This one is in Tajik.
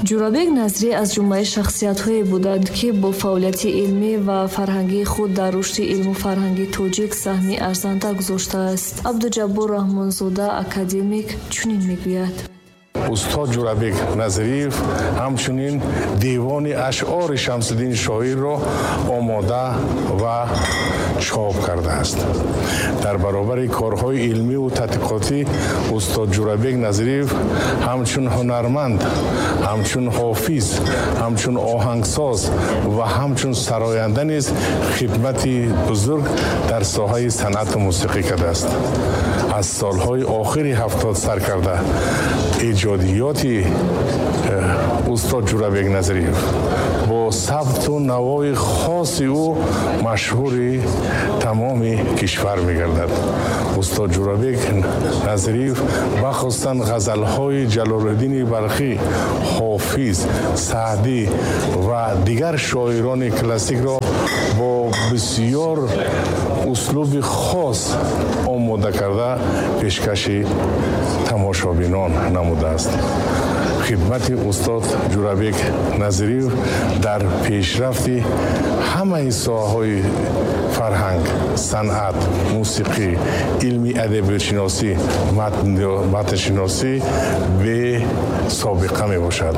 Ҷӯрабек Назрӣ аз ҷумлаи шахсиятҳое буданд, ки бо фаъолияти илмӣ ва фарҳангии худ дар рушди илму фарҳанги тоҷик саҳми арзанда гузоштааст. Абдуҷаббор Раҳмонзода, академик, чунин мегӯяд. Устод Ҷӯрабек Назриев ҳамчунин девони ашъори Шамсиддини шоирро омода ва чоп кардааст. Дар баробари корҳои илмиву тадқиқотӣ устод Ҷӯрабек Назриев ҳамчун ҳунарманд, ҳамчун ҳофиз, ҳамчун оҳангсоз ва ҳамчун сароянда низ хидмати бузург дар соҳаи санъату мусиқӣ кардааст. Аз солҳои охири 70 сар карда эҷодиёти устод Ҷӯрабек Назриев бо сабту навои хоси ӯ машҳури тамоми кишвар мегардад. Устод Ҷӯрабек Назриев бахусусан ғазалҳои Ҷалолиддини Балхӣ, Ҳофиз, Саъдӣ ва дигар шоирони классикро бо бисёр услуби хос омода карда пешкаши тамошобинон намудааст. Хидмати устод Ҷӯрабек Назриев дар пешрафти ҳамаи соҳаҳои фарҳанг, санъат, мусиқӣ, илми адабиётшиносӣ, матншиносӣ бесобиқа мебошад.